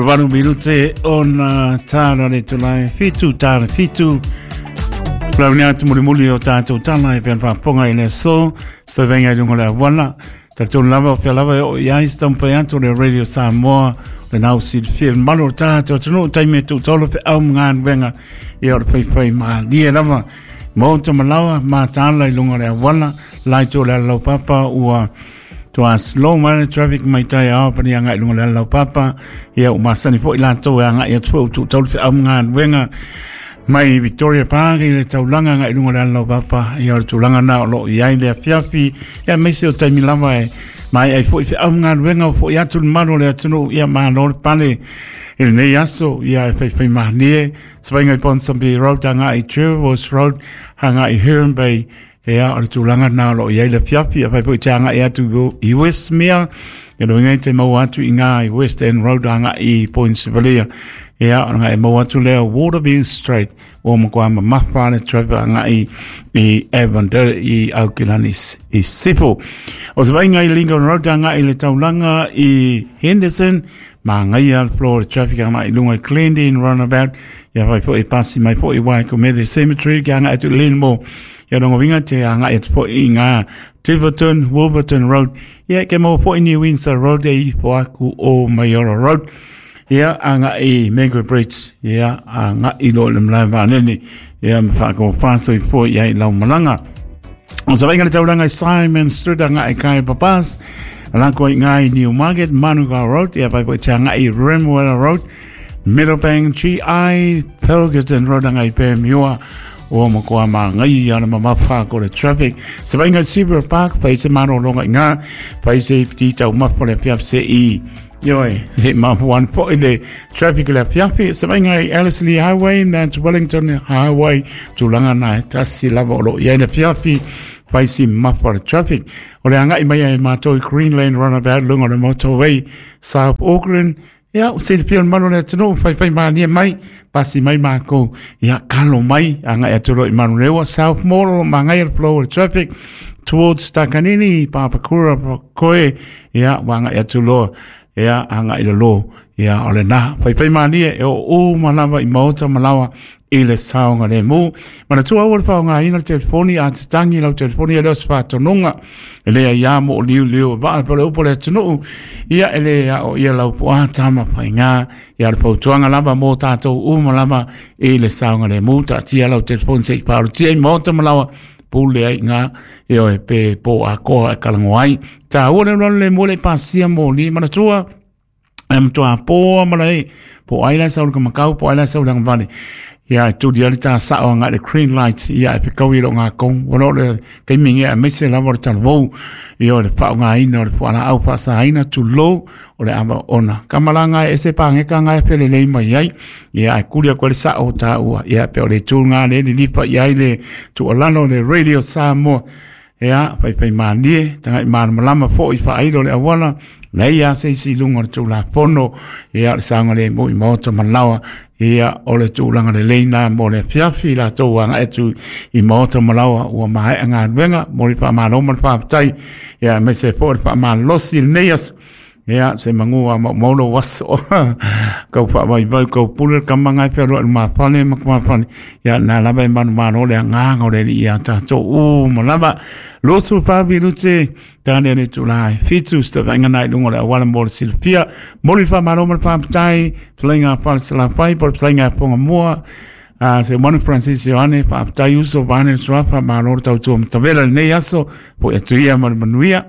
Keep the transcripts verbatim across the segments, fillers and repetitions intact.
Valu minute ona tāra le tūlai fitu tāra fitu. Lau ni atu muli muli o tātou tala e pean pāponga i le so, sa venga i lunga le awala. Tātou lava o pia lava e o i ai stampa atu le Radio Samoa, le nau si le fia malo o tātou tunu taime tū tolo pe au mga wenga i o le pai pai maa lie lava. Mōta malawa mā tāla i lunga le awala, lai tō le alau papa ua toa slow mai traffic mai tai ao pani anga i lunga le alau papa ia u masani fo i lātou e anga i atu u tū taulu fe au mga wenga mai Victoria Park i le taulanga anga i lunga le alau papa ia o le tūlanga nā o lo i ai le afiafi ia meise o taimi lava e mai ai fo i fe au mga wenga o fo i atu le malo le atunu ia mālo le pale i le nei aso ia e fai fai mahanie sabainga i Ponsonby Road anga i Trevors Road hanga i Heron Bay ia o le tūlanga nā lo i ai le fiafi a fai po i te anga i atu i Westmere ia lo ngai te mau atu i ngā i West End Road anga i Point Sivalia ia o ngā e mau atu lea Waterview Street o makoa ma mawha le traffic anga i i Avondale i Aukilani i Sipo o se vainga i Lincoln Road anga i le taulanga i Henderson ma ngai al floor traffic anga i lunga i Glendene Runabout ia fai po i pasi mai po i Waikumete Cemetery ki anga atu Lenmore ia rongo winga te anga e po i ngā Tiverton, Wolverton Road ia ke mau po i New Windsor Road e i po aku o Mayora Road ia anga i Mango Bridge ia anga i lo le mlai vaneni ia mwhako whaso i po ia i lau malanga o sa vainga le tauranga i Simon Street anga i Kai Papas alako i ngā i Newmarket, Manukau Road ia pai po i te anga i Remuera Road Meadowbank, G I, Pilgerton Road anga i Pēmiua o makoa mā ngai ana mamafa ko le traffic. Sa vainga Seabrook Park, pai se mano longa i ngā, pai se piti tau mafa le piap se i. Ioi, se mafuan po i le traffic le piapi. Sa vainga i Ellerslie Highway, Mount Wellington Highway, tūlanga nā e tasi lava o lo i ai le piapi, pai se mafa le traffic. O le anga i mai ai mātou i Greenland Runabout, lunga le motorway, South Auckland, ia, o se le pia mano le atunu, whai whai mānia mai, pasi mai mākou, ia, kalo mai, anga e atulo i Manurewa, South Mall, mā ngai al flow of traffic, towards Takanini, Papakura, koe, ia, wanga e atulo, ia, anga i lalo, ia, o le nā, whai whai mānia, e o o malawa i maota malawa, i le saonga le mū. Mana tua ua le whaonga ina le telefoni, a te tangi lau telefoni, e leo se whātononga, e lea ia mo o liu liu, waa pole upo le atunuu, ia e lea o ia lau po a tama whai ngā, ia le pautuanga lava mō tātou uma lava i le saonga le mū, ta tia lau telefoni se i parutia i maota malawa, pule ai ngā, e oe pe po a koa e kalango ai. Tā ua le le mō le pasia mō li, mana tua, e mtua pōa mala e, po ai lai sau le kamakau, po ai lai sau le ngavale. Ia e tūri ali tā sao anga le green light ia e pekau i lo ngā kong wano le kaimingi a meise lava o le talavou ia o le pao ngā ina o le puala au pasa aina tū lo o le awa ona kamalanga e se pāngeka ngā e pele lei mai ai ia e kuri a koe le sao tā ua ia pe o le tū ngā le li lipa ia i le tū alano le Radio Samoa ia pai pai mānie tanga i mānamalama fo i whaairo le awala nei a se isi lunga o le tū la pono ia le saonga le mo i maota malawa ia o le tūlanga le leina mo le fiafi la tau anga etu i maota malawa ua mahe anga wenga mo le wha le whaapatai ia me se po le wha le nei ia se mangua mo molo waso kau wha vai vai kau pule kamanga e pero ma fane ma ma fane ia na lava e manu mano le nganga o le ia tātou u mo lava losu whabi lute tāne ne tūlai fitu sta vainga nai lunga le awala mo le silpia mo le wha mano ma le whapatai tulainga whala salafai po le tulainga ponga mua Uh, se manu Francis Ioane whapatai uso vane suafa malo le tautua matavela le nei aso po e tuia ma le manuia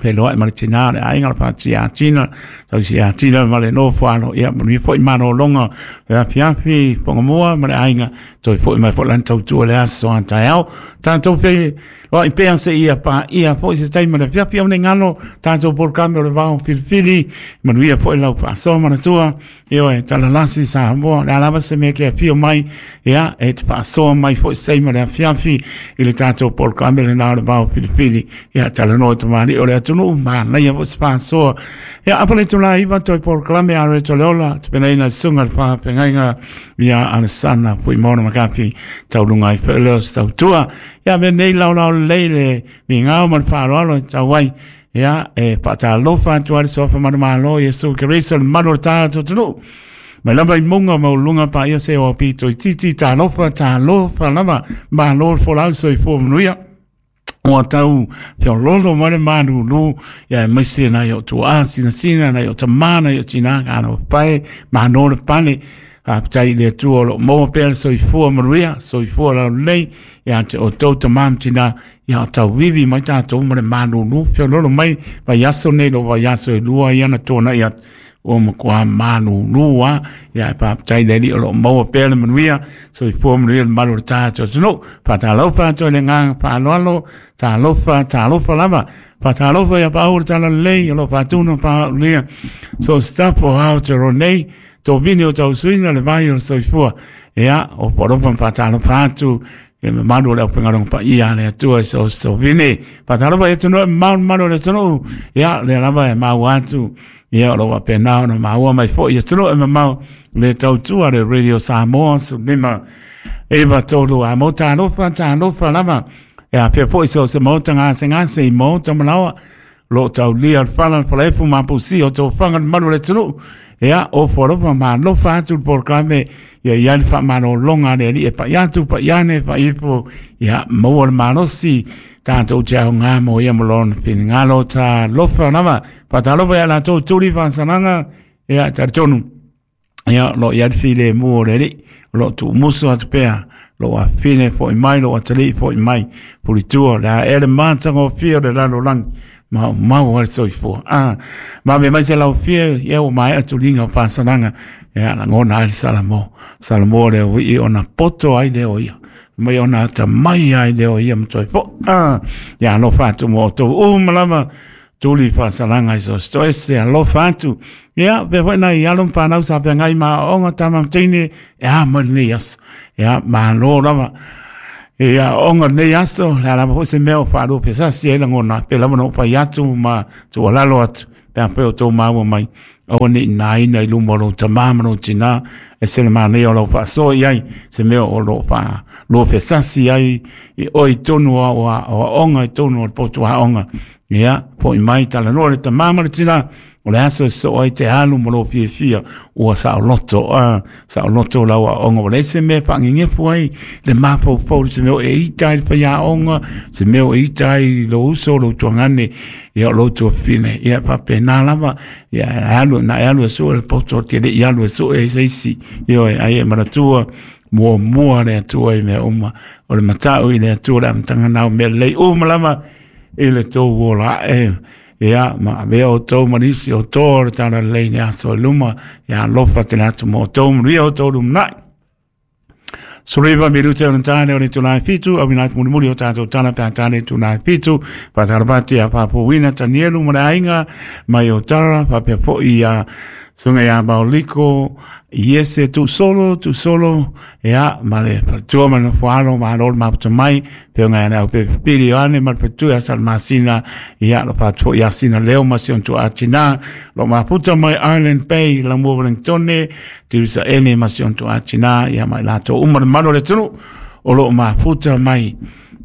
pe loa e male tina le ainga le pāti a tina tau si a tina ma le nofo alo ia manuia foi mano longa le afiafi ponga mua ma le ainga toi foi mai foi lan tautua le aso a taeao tātou pe loa i pea se ia pa ia foi se taima le afiafi au ne ngano tātou polkame o le vao filifili manuia foi lau paasoa manatua ia e talalasi Samoa le alava se mea ke afio mai ia e te paasoa mai foi se taima le afiafi i le tātou polkame le nā o le vao filifili ia talanoa tamani o le atunuu manaia foi se paasoa ia apa le tula iwa toi polkame a re toleola te penaina sunga le whapengaiga ia Alessana pui maona makapi taulunga i whaeleo se tautua ia me nei lau lau leile mi ngau ma le whaaloalo tau ai Ia e faatalofa atu ai le suafa manumalo Iesu Keriso le malu o le tatou atunuu. Mai lava i munga ma uluga paia se o pito i titi talofa talofa lava malo le folau soifua manuia. Ua tau feololo mai le malulu ia aemaise nai o tuaa sinasina nai o tamā nai o tinā kana pae malo le pale. Faafetai i le Atua o loo maua pea le soifua manuia soifua laulelei ia te outou tamā ma tinā ia o tauivi mai tatou ma le malulu feololo mai vaiaso nei lo vaiaso e lua ia na tuanai atu ua matua malulu a ia e faafetai i le Alii o loo maua pea le manuia soifua manuia le malu o le tatou atunuu. Faatalofa atu ai le agaga faaaloalo talofa talofa lava faatalofa ia paau le talalelei o loo faatino paaulia so staff o Aotearoa nei tovini o tausuina le vai o le soifua ia o polofa ma faatalofa atu le mamalu o le aufaigaluega paia a le Atua i so tovini faatalofa i atunuu e mamao le mamalu o le atunuu ia lea lava e maua atu ia o loo faapena ona maua mai foi i atunuu e mamao le tautua le Radio Samoa sefulumalima iva tolu a mo talofa talofa lava e afea foi so se maota gasegase i maota malaoa loo taulia le fala le falaefu ma pusia o tofaga le malu o le atunuu ia o folofa malofa atu le polokalame ia ia le faamalologa a le Alii e pai atu pai ane pai ifo ia maua le malosi tatou te aoga mo ia ma lona finagalo talofa lava faatalofa ia latou tuli faasalaga ia talitonu ia o loo i ai le filemu o le Alii o loo tuumusu atu pea loo afine foi mai loo atalii foi mai pulitua le a ea le matagofie o le lalolagi maumau ai le soifua. Ah, vave mai se laufia ia ua maea tuliga o faasalaga ia lagona ai le Salamo. Salamo le uii ona poto ai lea o ia. Mai ona atamai ai lea o ia ma toe fo'i. Ah, ia alofa atu mo outou uma lava tuli faasalaga i so se toese alofa atu. Ia, pea foi nai alo ma fanau sa feagai ma aoaoga tama ma teine e a mai lenei aso. Ia, malo lava. Ia aoga lenei aso, le a lava foi se mea o faalua pesasi ai lagona, pe lava na ou fai atu ma tuualalo atu, pe afai o outou maua mai, aua ne i naina i luma o lou tamā ma lou tinā, e se le manaia o lau faasoa i ai, se mea o loo faalua fesasi ai i oe i totonu o aoaoga i totonu o le potu aoga. Ia, foi mai talanoa le tamā ma le tinā, o le aso e sosoo ai te alu ma lou fiafia ua saoloto a saoloto lau aoga ua leai se mea e faagegefu ai le mafaufau se mea o e ita ai le faiaoga se mea o e ita ai lou uso lou tuagane ia o lou tuafafine ia faapena lava ia e alu na e alu e sue le poto te le i alu e sue ai se isi ioe ai e manatua muamua le Atua i mea uma o le matau i le Atua le amataga na o mea lelei uma lava i le tou ola ae ia ma avea outou ma nisi o toa o le talalelei i le aso i luma ia alofa tele atu mo outou manuia outou lumanai. Sefuluiva minute o le tane o le itula e fitu, auina atu mulimuli o tatou tala pe a tane itula e fitu, faatalofa atu ia Faapuuina Tanielu ma le aiga mai o Tara, faapea foi ia susuga ia Maoliko, Iese Tuusolo, Tuusolo, ia ma le faletua ma le nofoalo, malo le mafuta mai, feoga ia le au Pili Ioane ma le faletua ia Salamasina, ia lo faatu foi ia Sina Leo ma si ona tuaa tinā, lo mafuta mai Island Bay, Lamua Wellingtone, Tirisa Ene ma si ona tuaa tinā, ia ma i latou uma le malu o le atunuu, o loo mafuta mai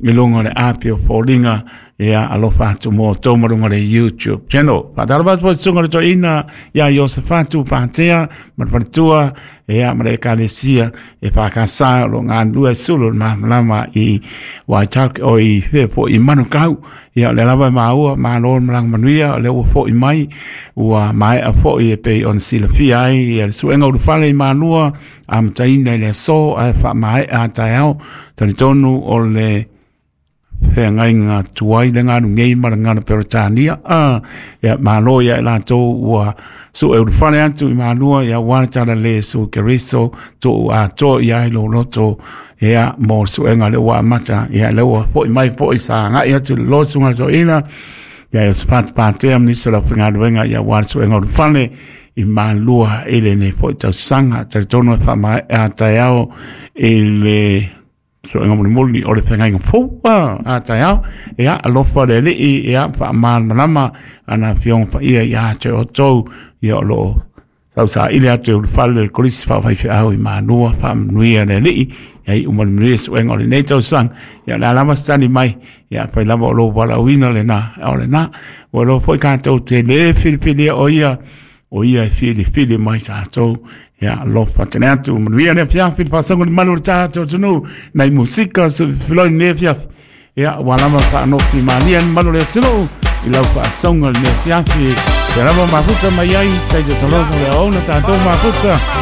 i luga o le api o foliga ia alofa atu mo outou ma luga o le YouTube channel. Faatalofa atu foi susuga i le toeaina ia Iosefatu Patea ma le faletua ia ma le ekalesia e faakasa o loo galulue ai sulu o le malamalama i Waitaki o i fea foi i Manukau. Ia o lea lava e maua malo le malaga manuia o lea ua foi mai ua maea foi e pei ona silafia ai ia le suega ulufale i Malua amataina i le aso ae faamaea a taeao. Talitonu o le feagaiga tuai le galu nei ma le gala Peretania a ia malo ia i latou ua sue ulufale atu i Malua ia aua le talalelei e Iesu Keriso tuu atoa i ai lou loto ia mo le suega lea ua amata ia lea ua foi mai foi sa agai atu i le loa susuga i le toeaina ia Iosefatu Patea ma nisi o le aufaigaluega ia aua le suega ulufale i Malua i lenei foi tausaga. Talitonu e faamaea a taeao i le suega mulimuli o le feagaiga fou a taeao ia alofa le Alii ia faamalamalama ana afioga paia ia te outou ia o loo Tausaili atu e ulufale le Kolisi Faafaifeau i Manua, faamanuia le Alii, ia iu ma le manuia suega o lenei tausaga. Ia o le a lava se tali mai, ia afai lava o lou valaauina lena, o lena. Ua iloa foi tatou te lē filifilia o ia, o ia e filifili mai tatou. Ia alofa tele atu, manuia le afiafi, le faasoga i le malu o le tatou atunuu, nai musika filoi lenei afiafi. Ia ua lava faanofi malia le malu o le atunuu i lau faasoga lenei afiafi. Ia lava mafuta mai ai, taitotoloto le aona tatou mafuta.